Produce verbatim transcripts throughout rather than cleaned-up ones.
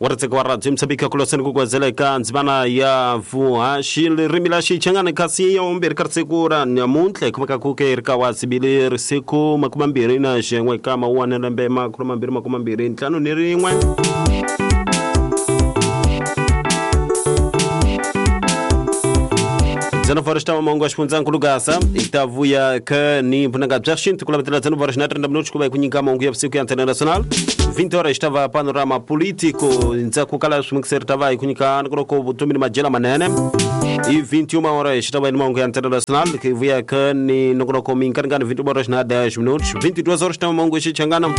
Waritseka wa Radio Mozambique kuloseni kukwazela eka ndzimana ya vuhaxi ririmi la Xichangani kasi ya vumbirhi ka risiku ra namuntlha hi kumeka ku ke ri ka wa sibili risiku makume mbirhi na xin'we ka mawuwani lembe makume mambirhi makume mbirhi ntlhanu ni rin'we. Dzana xitava mahungu ya xifundzankulu Gaza hi ta vuya ka ni vunanga bya xintu ku lavetela dzana na trenta minutos ku va hi ku nyika mahungu ya vusiku ya Antena Nacional. vinte horas estava panorama político ndzhaku ka laha swimikiseri ta va hi ku nyika nkoloko vutomi ni majela manene. E vinte e uma horas estava ni mahungu ya Antena Nacional que vuya ka ni nkoloko minkaringani vinte e uma horas na dez minutos. vinte e duas horas estava mahungu ya Xichangana.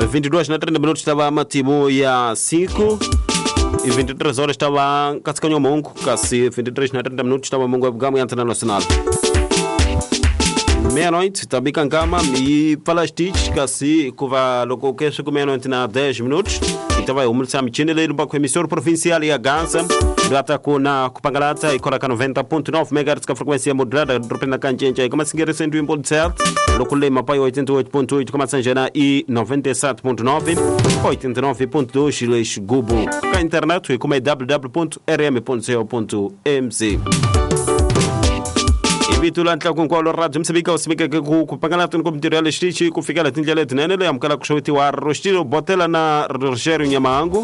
vinte e duas na trenta minutos estava matimu ya cinco. E vinte e três horas estava Cascanho Mongo, kasi vinte e três na trinta minutos estava Mongo Gama Antena Nacional. Meia-noite, também Kankama e Falastich, kasi kuva loko kesho com meia-noite na dez minutos. Então vai o Mulsamichine leiro para o emissor provincial e a Gaza. Gata com na Kupangalata e Coraca noventa ponto nove megahertz com a frequência modulada, dropando na Canjenja e como assim cento e um ponto sete, Locule Mapai oitenta e oito ponto oito, como Sanjana e noventa e sete ponto nove, oitenta e nove ponto dois Leix Gubo. Com a internet e como é w w w ponto r m ponto co ponto m z. Vitulantla com qual rádio Moçambique o Moçambique ku kupangalata no material estichi ku fikela tindlela letinene leyi amukela ku xavetiwa Rostilo Botela na Rogério Nyamango.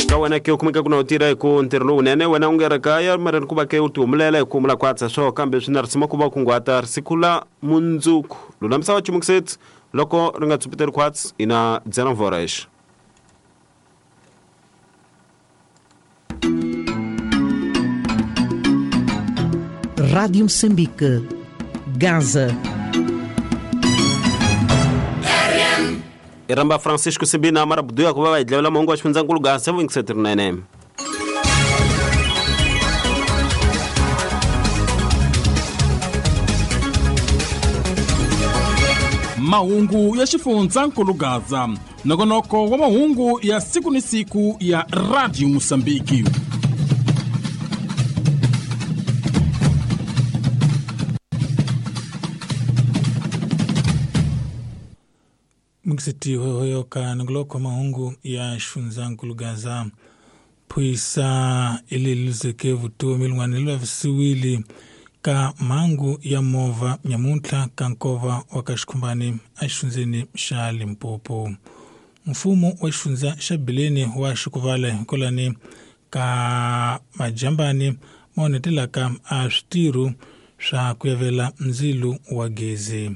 Ka wena ke kumeka ku na u tirha hi ku ntirho lowunene wena u nga ri kaya mara ni ku va ke u tihumelela hi ku humula kwatsa swo kambe swi na risima ku va kunguhata risiku la mundzuku lulamisa wa chimukiseti loko ri nga tsupeteri khwatsi ina dzana vorex. Rádio Moçambique, Gaza. Iramba Francisco Sibina amara buduya kuva va hi dlawela mahungu ya xifundzankulu Gaza vuyingisetinene. Mahungu ya xifundzankulu Gaza, nongonoko wa mahungu ya siku ni siku ya Radio Moçambique. Mukisiti hoyo ka nongoloko mahungu ya xifundzankulu Gaza. Phuyisa ileluzeke vutomi lin'wana li vavisiwile ka mhangu ya movha nyamuntlha ka nkova wa ka Xikhumbani exifundzeni xa Limpopo. Mfumo wa xifundza xa Bileni wa Xikuvala hikolani ka majambani ma onhetelaka a switirho swa ku yavela ndzilo wa gezi.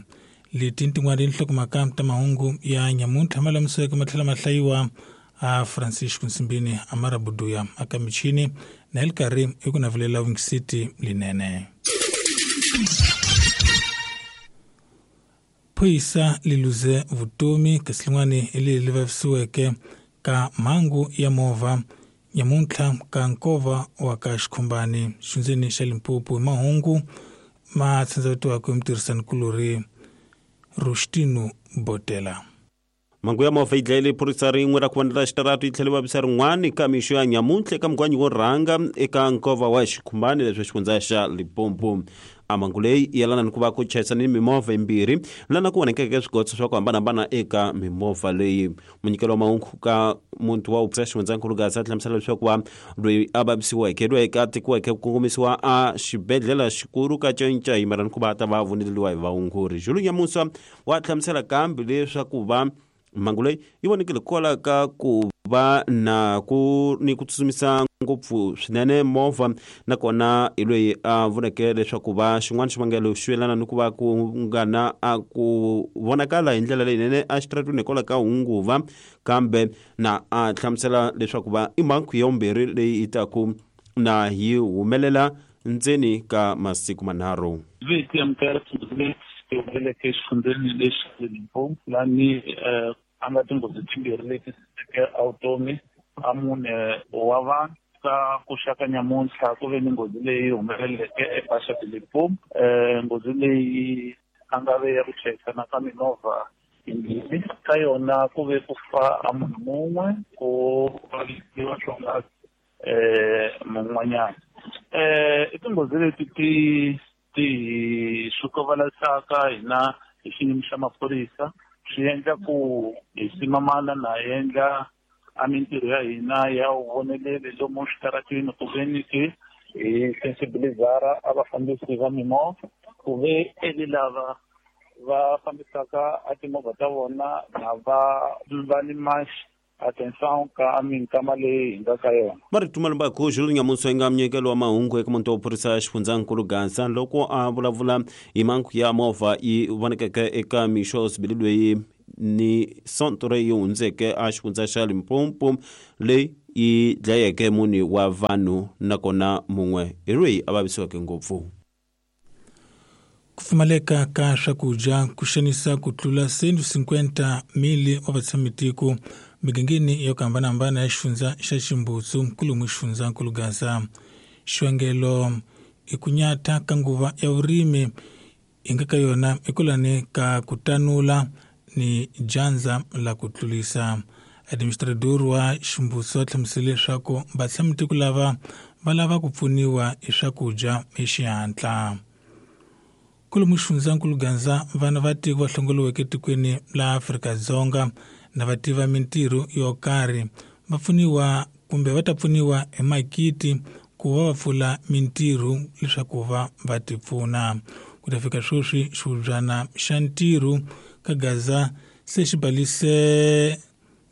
Leti tin'wana tinhlokomhaka ta mahungu ya nyamuntlha ma lamiseke ma tlhela ma hlayiwa a Francisco Nsimbini Amara Buduya aka michini na hi karhi hi ku navelela vungisiti linene. Phuyisa li luze vutomi kasi lin'wani hi leri li vavisiweke ka mhangu ya movha nyamuntlha ka nkova wa ka Xikhumbani xifundzeni xa Limpopo. Hi mahungu ma tsandzavetiwaka hi mutirhisanikulorhi Rustino Botela. Mhangu ya movha yi dlayile phorisa rin'we ra ku vonela xitaratu yi tlhela vavisa rin'wana ka mixo ya nyamuntlha eka mugwanyi wo rhanga eka nkova wa Xikhumbani leswi xifundza xa Limpopo. A mhangu leyi yelana ni ku va ku chayisana ni mimovha yimbirhi lana ku vonekeke swigotso swa ku hambanahambana eka mimovha leyi. Munyikelo wa mahungu ka muti wa upsa xifundzankulu Gaza hlamusela leswaku va loyi a vavisiweke loyi a tekiweke ku kongomisiwa a xibedhlele xikulu ka Cinca hi mara ni ku va ta va voneliwa hi vaongori. Julu Nyamusa wa hlamusela kambe leswaku va mhangu leyi yi vonekile kwala ka ku va na ku ni ku tsutsumisa ngopfu swinene movha nakona hi loyi a voneke leswaku va xin'wana xivangelo xi yelana ni ku va ku nga na a ku vonakala hi ndlela leyinene exitarateni hikwalaho ka hunguva kambe na a hlamusela leswaku va i mhangu ya vumbirhi leyi yi taku na yi humelela ndzeni ka masiku manharhu. Humeleleke exifundzeni lexi Limpopo lani a nga tinghozi timbirhi leti teke vutomi a mune wa vanhu. Ka ku xaka nyamuntlha ku ve ni nghozi leyi humeleleke eBasha de Limpopo, nghozi leyi a nga ve ya ku chayisana ka mimovha yimbirhi. Ka yona ku ve ku fa a munhu mun'we ku vavisiwa swonghasi mun'wanyana. I tinghozi leti ti ti swi kovalasaka hina hi xiyimo xa maphorisa Swi endla ku hi simamana na endla a mintirho ya hina ya vuvoneleli lomu switarateni ku ve ni ke hi sensibilizara a vafambisi va mimovha ku ve eli lava va fambisaka a timovha ta vona na va va ni atenção ka minkama leyi hi nga ka yona. Marito Malumbaku Jules Nyamuso nga munyikelo wa mahungu eka muti wa phorisa xifundzankulu Gaza loko a vulavula hi mhangu ya movha yi vonekeke eka mixo sibili loyi ni sonto leyi hundzeke a xifundza xa Limpopo leyi yi dlayeke mune wa vanhu nakona mun'we hi loyi a vavisiweke ngopfu. Ku pfumaleka ka swakudya ku xanisa ku tlula cento e cinquanta mili wa vatshamitiko migangeni yo hambanahambana ya xifundza xa Ximbutsu kulumu xifundzankulu Gaza. Xivangelo i ku nyata ka nguva ya vurimi hi nga ka yona ekulani ka ku tanula ni dyandza la ku tlulisa. Administrador wa Ximbutsu a hlamusele leswaku vatshamitiko lava va lava ku pfuniwa hi swakudya hi xihatla. Kulumu xifundzankulu Gaza vana va tiko va hlongoliweke etikweni la Afrika-Dzonga na va tiva mintirho yo karhi va pfuniwa kumbe va ta pfuniwa hi makiti ku va va pfula mintirho leswaku va va ti pfuna. Ku ta fika sweswi xihubyana xa ntirho ka Gaza se xi balise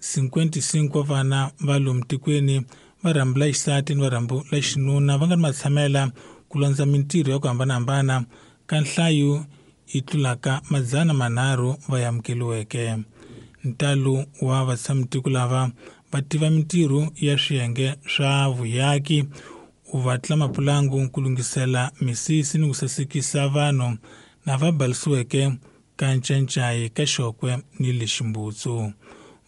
cinquanta e cinco vana va lomu tikweni va rhambu la xisati ni va rhambu la xinuna va nga ni matshamela ku landza mintirho ya ku hambanahambana ka nhlayo yi tlulaka madzana manharhu va amukeliweke. Ntalo wa vatshamitiko lava va tiva mintirho ya swiyenge swa vuyaki, u vatla mapulangu ku lunghisela misisi ni ku sasekisa vanhu na va balisiweke ka Ncancai ka Xokwe ni le Ximbutsu.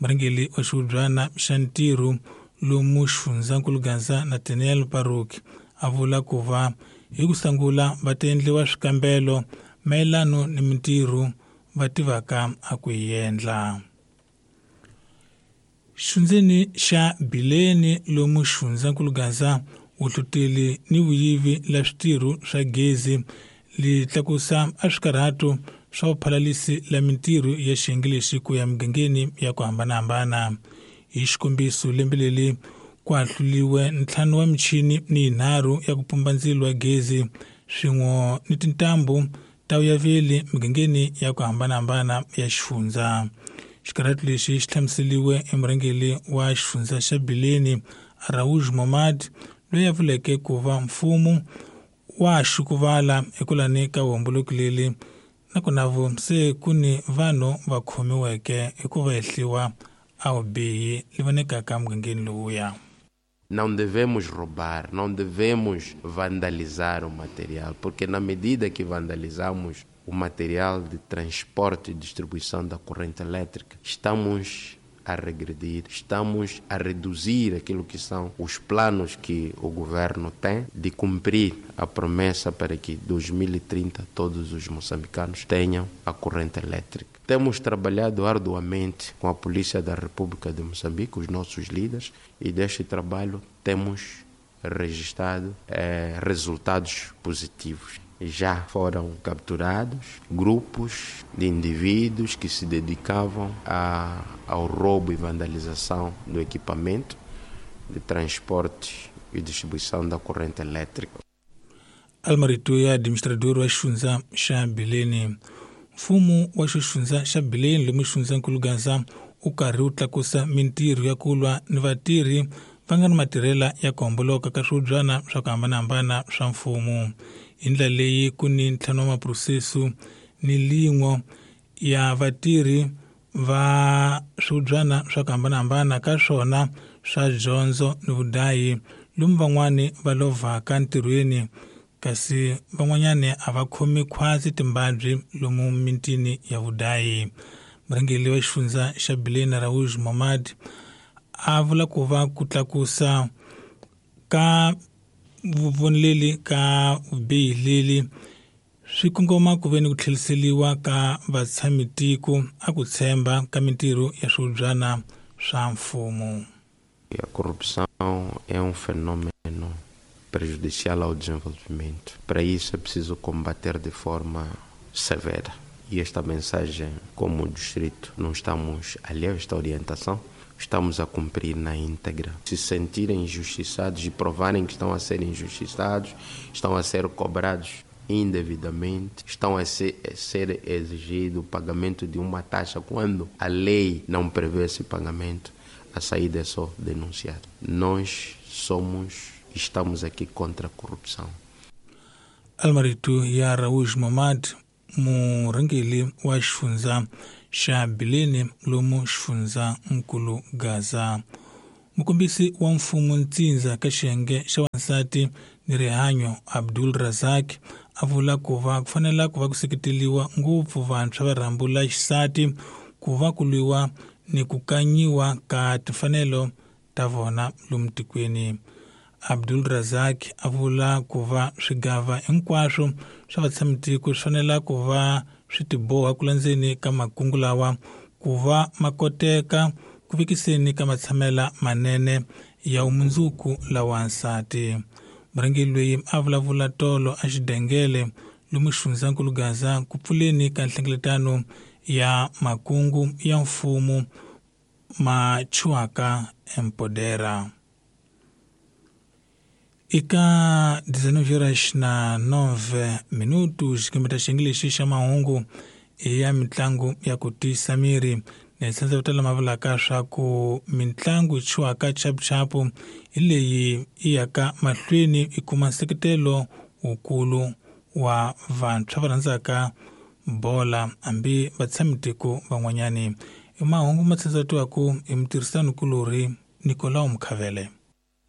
Murhangeri wa xihubyana xa ntirho lomu xifundzankulu Gaza Nathaniel Paruk a vula ku va hi ku sungula va ta endliwa swikambelo mayelano ni mintirho va tivaka a ku yi endla. Xundzeni xa Bileni lomu xifundzankulu Gaza vuhluteli ni vuyivi la switirho swa gezi li tlakusa a swikarhato swa vuphalalisi la mintirho ya xiyenge lexi ku ya migangeni ya ku hambanahambana. Hi xikombiso lembe leri ku ahluliwe ntlhanu wa michini ni yinharhu ya ku pumba ndzilo wa gezi swin'we ni tintambu ta vuyaveli migangeni ya ku hambanahambana ya xifundza. Xikarhato lexi xi hlamuseliwe emurhangeri wa xifundza xa Bileni Araújo Momad loyi a vuleke ku va mfumo wa xukuvala ekulani ka vuhomboloki leri nakona vo se ku ni vanhu va khomiweke hikuva hehliwa a vubihi li vonekaka mugangeni lowuya. Não devemos roubar, não devemos vandalizar o material, porque na medida que vandalizamos o material de transporte e distribuição da corrente elétrica, estamos a regredir, estamos a reduzir aquilo que são os planos que o governo tem de cumprir a promessa para que em dois mil e trinta todos os moçambicanos tenham a corrente elétrica. Temos trabalhado arduamente com a Polícia da República de Moçambique, os nossos líderes, e deste trabalho temos registrado eh, resultados positivos. Já foram capturados grupos de indivíduos que se dedicavam a, ao roubo e vandalização do equipamento de transporte e distribuição da corrente elétrica. Almarito ya administrador wa xifundza xa Bileni. Mfumo wa xifundza xa Bileni lomu xifundzankulu Gaza u karhi wu tlakusa mintirho ya ku lwa ni vatirhi va nga ni matirhela ya ku homboloka ka swihubyana swa ku hambanahambana swa mfumo. Hi ndlela leyi ku ni ntlhanu wa maphurosese ni lin'we ya vatirhi va swihubyana swa ku hambanahambana ka swona swa dyondzo ni vudayi lomu van'wani va lovhaka ntirhweni kasi van'wanyani a va khomi khwatsi timbabyi lomu mitini ya vudayi. Murhangeri wa xifundza xa Bileni Araújo Momad a vula ku va ku tlakusa ka vuvoneleli ka vubihi leli swi kongoma ku ve ni ku tlheriseriwa ka vatshamitiko a ku tshemba ka mintirho ya swihubyana swa mfumo. A corrupção é um fenômeno prejudicial ao desenvolvimento. Para isso é preciso combater de forma severa. E esta mensagem, como distrito, não estamos alheios a esta orientação, estamos a cumprir na íntegra. Se sentirem injustiçados e provarem que estão a ser injustiçados, estão a ser cobrados indevidamente, estão a ser, a ser exigido o pagamento de uma taxa quando a lei não prevê esse pagamento, a saída é só denunciar. Nós somos, estamos aqui contra a corrupção. Almarito ya Raúl Momad, murhangeri wa xifundza xa Bilene lomu xifundza nkulu Gaza. Mukombisi wa mfumo ntsindza ka xiyenge xa wansati ni rihanyo Abdul Razak a vula ku va ku fanela ku va ku seketeliwa ngopfu vantshwa va rhambu la xisati ku va ku lwiwa ni ku kanyiwa ka timfanelo ta vona lomu tikweni. Abdul Razak a vula ku va swigava hinkwaswo swa vatshamitiko swi fanela ku va swi tiboha ku landzeni ka makungu lawa ku va ma koteka ku vekiseni ka matshamela manene ya vumundzuku la wansati. Murhangeri loyi a vulavula tolo a xidengele lomu xifundzankulu Gaza ku pfuleni ka nhlengeletano ya makungu ya mfumo ma chuaka empodera. Eka dezenove horas na nove minutos xikambeta xiyenge xa mahungu ya mitlangu ya ku tiyisa miri na tsandza ku tala mavulaka swa ku mitlangu chuaka chapuchapu hi leyi yi yaka mahlweni yi kuma nseketelo wukulu wa vantshwa va rhandzaka bola hambi vatshamitiko van'wanyani. I mahungu ma tsandzatiwaku hi mutirhisanikulorhi Nicolau Mkhavele.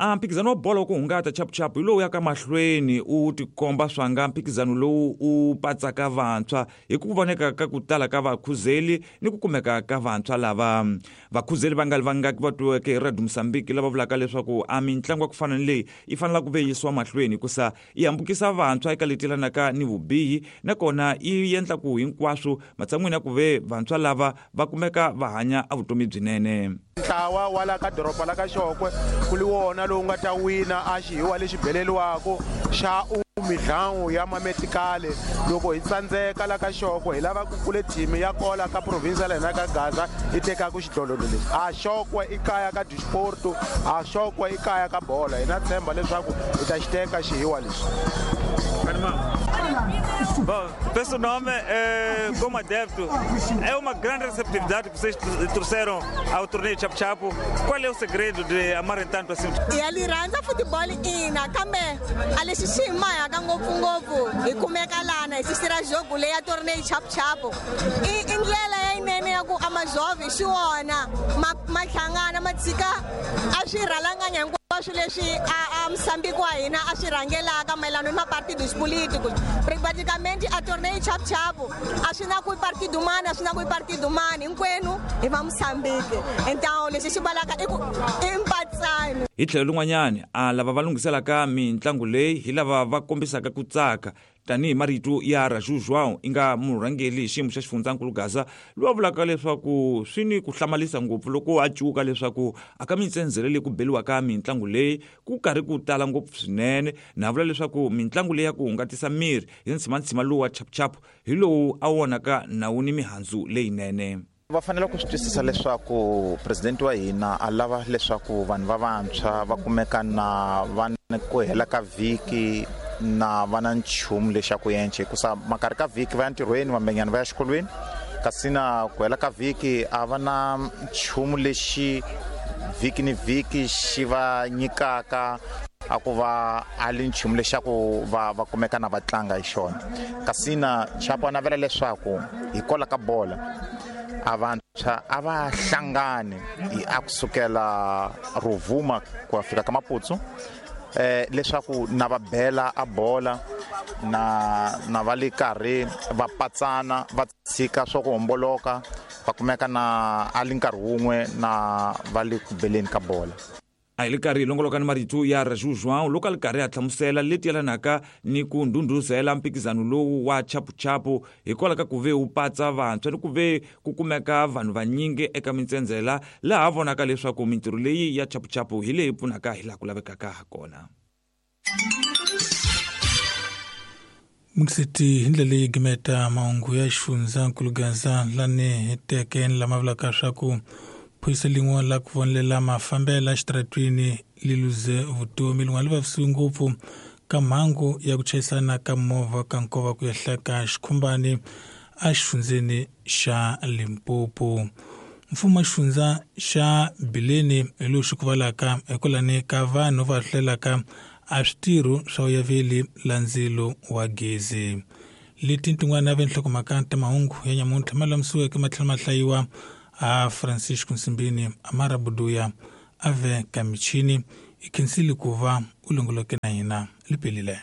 A mphikizano wa bolo ku hungata chapuchapu hi lowu yaka mahlweni u tikomba swanga mphikizano lowu u patsaka vantshwa hi ku voneka ka ku tala ka vakhuzeli ni ku kumeka ka vantshwa lava vakhuzeli va nga li vangaki va twiweke hi Radio Mozambique lava vulaka leswaku a mitlangu ya ku fana ni leyi yi fanela ku ve yisiwa mahlweni hikusa yi hambukisa vantshwa eka leti yelanaka ni vubihi nakona yi endla ku hinkwaswo matshan'wini ya ku ve vantshwa lava va kumeka va hanya a vutomi byinene. Ntlawa wa la ka doroba la ka Xokwe ku li wona lowu nga ta wina a xihiwa lexi beleliwako xa umidlangu ya mametikale. Loko hi tsandzeka la ka Xokwe hi lava ku kule team ya kola ka province la hina ka Gaza yi tekaka xidlodlo lexi. A Xokwe i kaya ka disporto, a Xokwe i kaya ka bola. Hi na tshemba leswaku hi ta xi teka xihiwa lexi. Bom, penso o nome, é, como adepto, é uma grande receptividade que vocês trouxeram ao torneio Chapu Chapu. Qual é o segredo de amarem tanto assim? E ali randza futebol ina kambe a lexi xi hi mahaka ngopfungopfu hi kumeka lana hi sisira jogo leyi ya torneio Chapu Chapu. I i ndlela yinene ya ku a majove xi wona ma ma hlangana ma tshika a swi rhalanganya hinkwaswo leswi a a Moçambique wa hina a swi rhangelaka mayelana ni mapartidos políticos. Praticamente a torneio Chapu Chapu a swi na ku i partido mani a swi na ku i partido mani hinkwenu hi va Moçambique. Então lexi xi valaka i ku i mpatsano. Hi tlhelo rin'wanyani a lava va lunghiselaka mitlangu leyi hi lava va kombisaka ku tsaka tanihi marito ya Raju João i nga murhangeri hi xiyimo xa xifundzankulu Gaza loyi a vulaka leswaku swi ni ku hlamarisa ngopfu loko a cuka leswaku a ka mitsendzele leyi ku beliwaka mitlangu leyi ku karhi ku tala ngopfu swinene na vula leswaku mitlangu leyi ya ku hungatisa miri hi ntshimantsima lowu wa chapuchapu hi lowu a vonaka nawu ni mihandzu leyinene. Va fanele ku swi twisisa leswaku president wa hina a lava leswaku vanhu va vantshwa va kumeka na va ku hela ka vhiki na va na nchumu lexaku yenche hikusa makarhi ka vhiki va ya ntirhweni vambenyana va ya xikolweni kasi na ku hela ka vhiki a va na nchumu lexi vhiki ni vhiki xi va nyikaka a ku va a li nchumu lexaku va va kumeka na va tlanga hi xona. Kasi na Chapo a navela leswaku hi kola ka bola a vantshwa a va hlangani a kusukela Rovuma ku ya fika ka Maputo eh leswaku na va bela a bola na na va le karhi va patsana va tshika swa ku homboloka va kumeka na a li nkarhi wun'we na va le ku beleni ka bola. A hi le karhi hi longoloka ni marito ya Raju João loko a li karhi a hlamusela leti yelanaka ni ku ndhundhuzela mphikizano lowu wa chapuchapu hikwalaho ka ku ve wu patsa vantshwa ni ku ve ku kumeka vanhu vanyingi eka mitsendzela laha vonaka leswaku mintirho leyi ya chapuchapu hi leyi pfunaka hi laha ku lavekaka hakona. Mukisiti hi ndlela leyi gimeta mahungu ya xifundzankulu Gaza lani heteke ni lama vulaka swa ku phorisa lin'we la ku vonelela mafambelo exitaratwini li luze vutomi lin'wana li vavisiwe ngopfu ka mhangu ya ku chayisana ka movha ka nkova ku ehla ka xikhumbani exifundzeni xa Limpopo. Mfumo wa xifundza xa Bileni hi lowu xi ku valaka hikwalani ka vanhu va hlelaka a switirho swa vuyaveli la ndzilo wa gezi. Leti tin'wana va nhlokomhaka ta mahungu ya nyamuntlha ma lulamisiweke ma tlhela ma hlayiwa a Francisco Nsimbini, Amara Buduya, Ave Kamichini. I khensile ku va u longoloke na hina lipelile.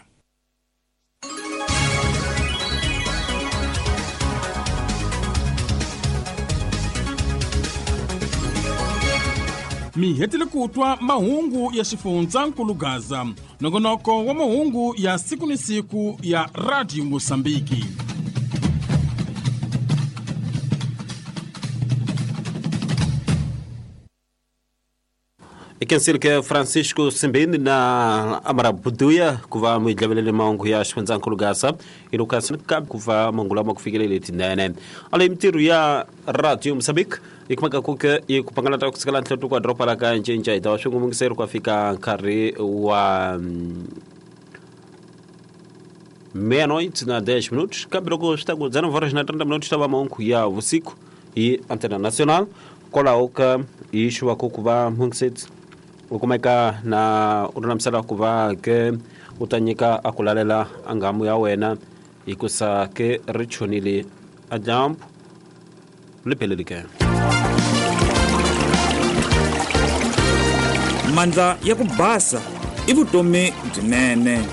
Mi hetile ku twa mahungu ya xifundzankulu Gaza, nongonoko wa mahungu ya siku ni siku ya Radio Mosambiki. Ikensile ke Francisco Simbini na Amara Buduya ku va mi dlavelele mahungu ya xifundzankulu Gaza ilukasi ka ku va mahungu lama ku fikelele tinene. Ale mintirho ya Radio Mosambiki yi kumeka ku ke yi ku pangalata ku sikela ntlhelo kwa doroba la ka Ncinca hi ta va swingumungiseri ku fika nkarhi wa meia-noite na dez minutos kambe loko swi ta ku dzana horas na trinta minutos ta va mahungu ya vusiku hi Antena Nacional kwalaho ka hi xuva ku ku va mungiseti u kumeka na u lulamisela ku va ke u ta nyika a ku lalela a nghamu ya wena hikusa ke ri chonile a dyambu li phelele ke. Mandla ya ku basa i vutomi byinene.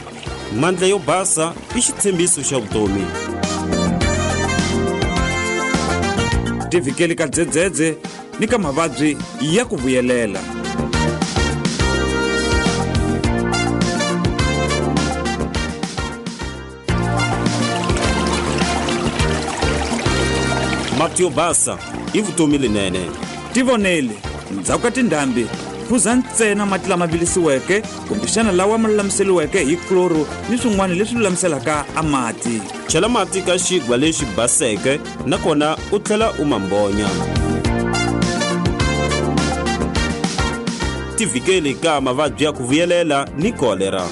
Mandla yo basa i xitshembiso xa vutomi. Tivikeli ka dzedzedze ni ka mavabyi ya ku vuyelela. Mati yo basa i vutomi linene. Tivonele ndzhaku ka tindhambi phuza ntsena mati lama vilisiweke kumbexana lawa ma lulamiseriweke hi chloro ni swin'wana leswi lulamiselaka a mati. Chela mati ka xigwa lexi baseke nakona u tlhela u ma mbonya. Tivikeli ka mavabyi ya ku vuyelela ni kolera.